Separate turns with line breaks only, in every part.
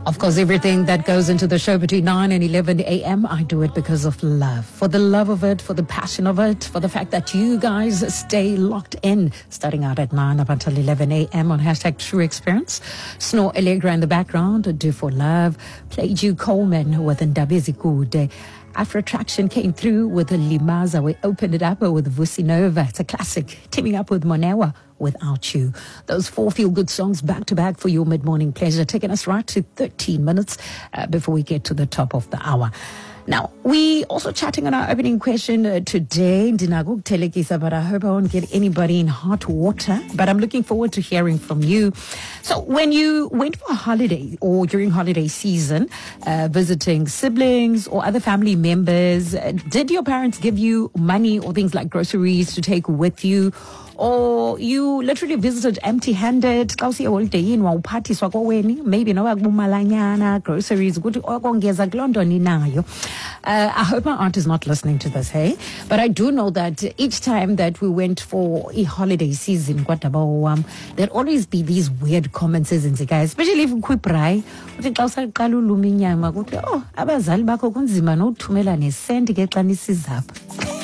Of course, everything that goes into the show between 9 and 11 a.m., I do it because of love. For the love of it, for the passion of it, for the fact that you guys stay locked in, starting out at 9 up until 11 a.m. on hashtag True Experience. Snow Allegra in the background, Do for Love. Played you Coleman with Ndabezikude. Afro Attraction came through with Limaza. We opened it up with Vusi Nova. It's a classic. Teaming up with Monewa, Without You. Those four feel good songs back to back for your mid morning pleasure, taking us right to 13 minutes before we get to the top of the hour. Now, we also chatting on our opening question today. Ndinako ukuthelekisa, but I hope I won't get anybody in hot water. But I'm looking forward to hearing from you. So, when you went for a holiday or during holiday season, visiting siblings or other family members, did your parents give you money or things like groceries to take with you? Or you literally visited empty-handed? Xa usiye eholideyini wawuphathiswa koweni, maybe noba kubumalanyana, groceries, ukuthi okongeza kuloo nto ninayo. I hope my aunt is not listening to this, hey? But I do know that each time that we went for a holiday season, kwadabawo wam, there'd always be these weird comments ezenzekayo, especially if kukho ibrayi. Uthi xa usaqala uluma inyama, kuthiwe, oh, abazali bakho kunzima nokuthumela nesenti ke xa nisiza apha.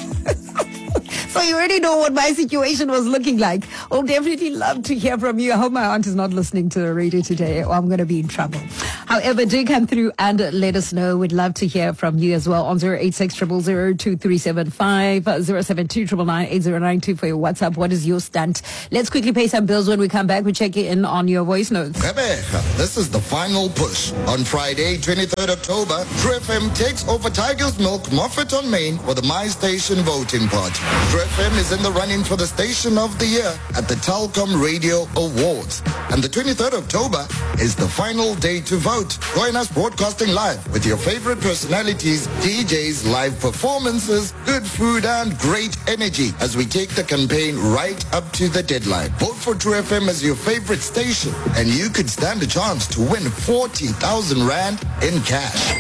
So you already know what my situation was looking like. I'll definitely love to hear from you. I hope my aunt is not listening to the radio today or I'm going to be in trouble. However, do come through and let us know. We'd love to hear from you as well on 086 000 2375 072 999 for your WhatsApp. What is your stunt? Let's quickly pay some bills. When we come back, we check in on your voice notes.
Gqeberha, this is the final push. On Friday, 23rd October, True FM takes over Tiger's Milk, Moffat on Main for the My Station voting party. True FM is in the running for the Station of the Year at the Telkom Radio Awards. And the 23rd October is the final day to vote. Join us broadcasting live with your favorite personalities, DJs, live performances, good food and great energy as we take the campaign right up to the deadline. Vote for True FM as your favorite station and you could stand a chance to win 40,000 Rand in cash.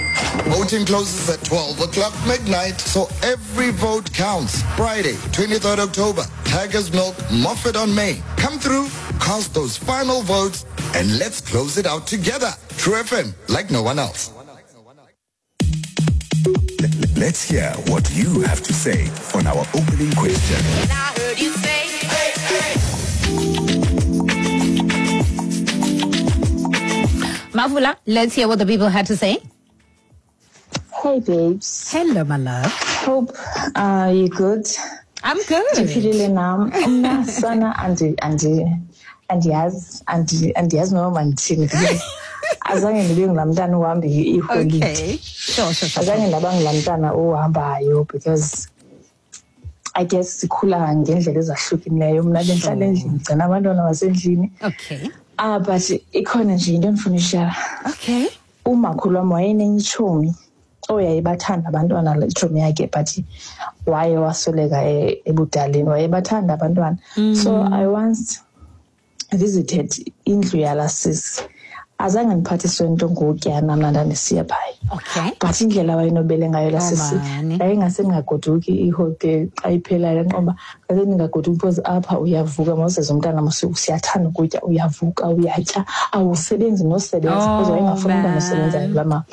Voting closes at 12 o'clock midnight, so every vote counts. Friday, 23rd October, Tiger's Milk, Moffat on May. Come through, cast those final votes, and let's close it out together. True FM, like no one else.
Let's hear what you have to say on our opening question.
And I heard you say, hey, hey.
Mavula, let's hear what the people had to say.
Hey, babes.
Hello, my love.
Hope you're good.
I'm good.
Ndiphilile nam. Mna sana andiyazi andiyazi noba mandithini because azange ndibe ngulaa mntana uhamba iholide.
Okay. Sure.
Azange ndaba ngulaa mntana ohambayo because I guess sikhula ngendlela ezahlukileyo. Mna bendihlala endlini, ndigcina abantwana basendlini.
Okay.
Ah, but ikhona nje into endifuna uyishara.
Okay.
Umakhulu wam wayenenye itshomi oyayibathanda abantwana, itshomi yakhe, but waye wasweleka ebudaleni, wayebathanda abantwana. So I once visited indlu yalaa sisi. Azange ndiphathiswe nto ngokutya mna ndandisiya phaya.
Okay.
But indlela awayenobele ngayo laa
Oh,
sisi,
mani.
yayingase ndingagoduki iholiday xa iphelayo, ngoba ngase ndingagoduki because apha uyavuka mawuseze umntana mos siyathanda ukutya, uyavuka uyatya, awusebenzi nosebenza because
Oh,
wayengafuni umntana
man.
osebenzayo kulaa mama.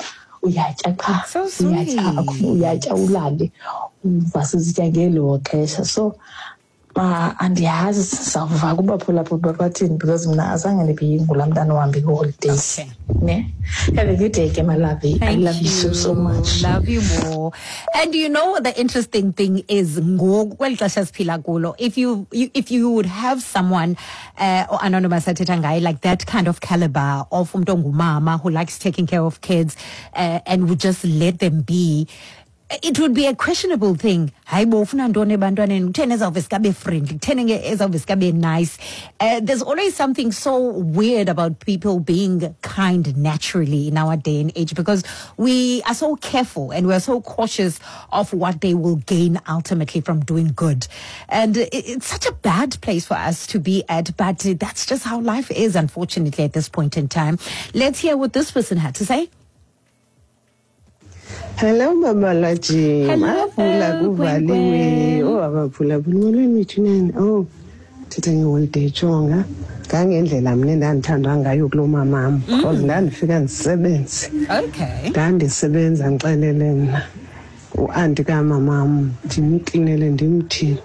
Uyatya qha,
So
uyatya,
sweet.
uyatya ulale, uvase uzitya ngelo xesha. So andiyazi sizawuva kubaphulaphula bathini because mna azange ndibe ngulaa mntana ohamba ii-holidays.
Okay.
Ne? Have a good day, ke, my lovey. I
Thank
love you so, so much.
Love you more. And you know what the interesting thing is, ngoku kweli xesha siphila kulo, if you would have someone or anonymous athetha ngaye, like that kind of caliber of umntu ongumama who likes taking care of kids and would just let them be, it would be a questionable thing. Hayi bo, ufuna ntoni ebantwaneni? Kutheni ezawuveske abe friendly? Kutheni ke ezawuveske abe nice? There's always something so weird about people being kind naturally in our day and age because we are so careful and we are so cautious of what they will gain ultimately from doing good. And it's such a bad place for us to be at, but that's just how life is, unfortunately, at this point in time. Let's hear what this person had to say.
Hello, Mama Laji.
Hello,
Mavula kuvaliwe.
Gwen.
Oh, abaphulaphula molweni mithunene. Oh, Thetha ngeholiday, jonga ngangendlela mna endandithandwa ngayo kuloo mamam, because ndandifika ndisebenze. Ndandisebenza, ndixelele mna uanti kamamam, ndimklinele, ndimthini,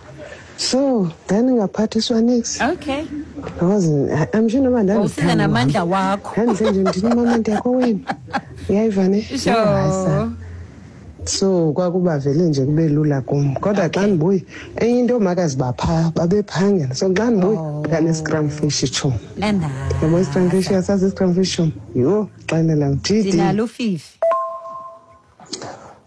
so ndandingaphathiswa nix. Because I'm sure noba
Wawusiza namandla wakho.
Ndandise nje ndini, mama, ndiyakowenu, uyayiva ne? Hayi, sana. So kwakuba vele nje kube lula kum, kodwa xa ndibuye, enye into, oomakazi baphaa babephangela, so xa ndibuye ndane-scrum fish, tshomi.
Nana.
Yabo, i-scrum fish, uyasazi i-scrum fish, tshomi? Yho, xelela mthidi.
Ndinalo ufifi.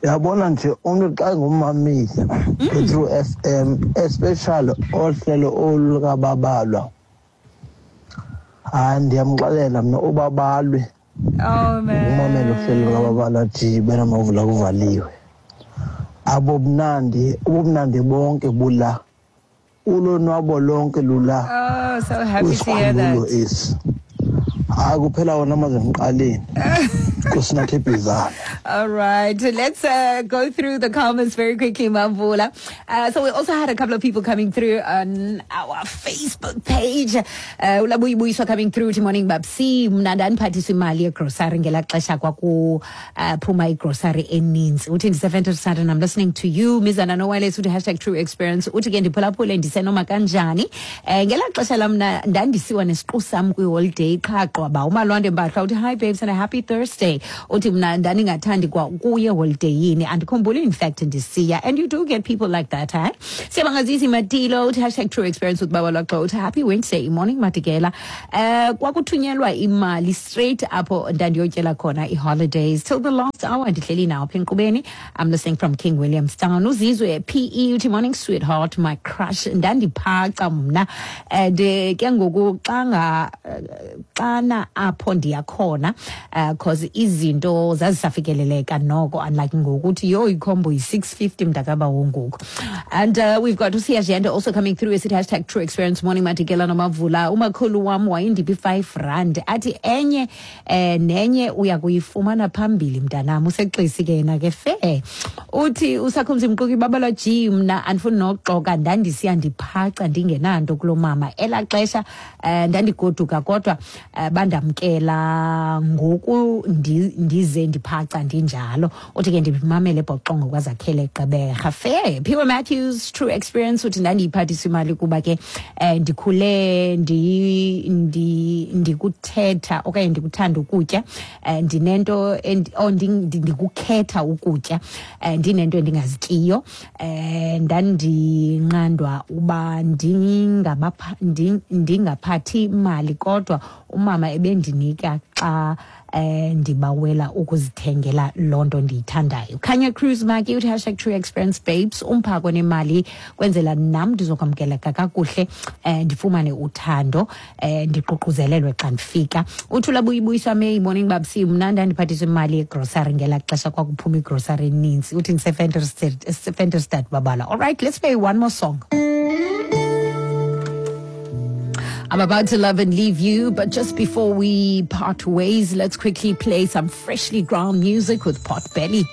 Uyabona nje, umntu xa ngummamile kwi-True FM, especially ohlelo olu lukaBabalwa, hayi, ndiyamxelela mna uBabalwe.
Oh man.
Umamela uhlelo lukaBabalwa jibe namavula kuvaliwe, abobumnandi, ubumnandi bonke bula, ulonwabo lonke lula.
Oh, so happy to hear
kwisikhululo
that.
Esi, hayi, kuphela wona amaze emqaleni kusinathi ebhizana.
All right, let's go through the comments very quickly, Mavula. So we also had a couple of people coming through on our Facebook page. Ulabuyibuyiswa coming through to morning babsi, mna ndandiphathiswa imali yegrosari ngelaa xesha kwakuphuma igrosari eninzi. Uthi ndise-Venterstad and I'm listening to you. Mizana Nowales uthi #TrueExperience. Uthi ke ndiphulaphule ndisenoma kanjani. Ngelaa xesha lam mna ndandisiwa nesiqu sam kwiholiday qha qwaba. Umalwande Mbahlwa uthi hi babes and a happy Thursday. Uthi mna ndandingathandi kwa ukuya eholideyini, andikhumbuli in fact ndisiya. And you do get people like that, eh? Siyabangazisi Matilo uthi #TrueExperience with Baba Lwaxo, uthi happy Wednesday morning Matikela. Kwakuthunyelwa imali straight apho ndandiyotyela khona i-holidays till the last hour, ndihleli nawo apha enkqubeni. I'm listening from King Williamstown. Uzizwe PE uthi morning sweetheart, my crush, ndandiphaca mna and ke ngoku xa nga xana apho ndiyakhona, cause izinto zazisafikeleleka noko, unlike ngokuthi yho, ikhombo yi-650 mntakabawo ngoku. And we've got uSiyajende also coming through esithi #TrueExperience, morning Matikela noMavula, umakhulu wam wayendiphi 5 rand, athi enye nenye uya kuyifumana phambili mntanam. Usexisi ke yena ke fe. Uthi uSakhumzi Mquki, Babalwa G, mna andifuni nokuxoka, ndandisiya ndiphaca ndingenanto kulo mama elaa xesha. Ndandigoduka kodwa bandamkela ngoku ndize ndiphaca ndinjalo. Uthi ke ndimamele ebhoxongo kwaZakhele Gqeberha fe. Phiwe Matthews, true experience, uthi ndandiyiphathisa imali kuba ke ndikhule ndikuthetha okanye ndikuthanda ukutya, ndinento oh, ndikukhetha ukutya, ndinento endingazityiyo, ndandinqandwa uba ndingaphathi mali, kodwa umama ebendinika xa ndibawela ukuzithengela loo nto ndiyithandayo. Khanya Cruise Maki uthi #TrueExperience babes, umphako nemali kwenzela nam ndizokwamkeleka kakuhle, ndifumane uthando, ndiququzelelwe xa ndifika. Uthula buyibuyiswa May, morning babsi, mna ndandiphathiswa imali yegrosari ngelaa xesha kwakuphuma igrosari eninzi. Uthi ndiseVenterstad babala. All right, let's play one more song. I'm about to love and leave you, but just before we part ways, let's quickly play some freshly ground music with Pot Belly.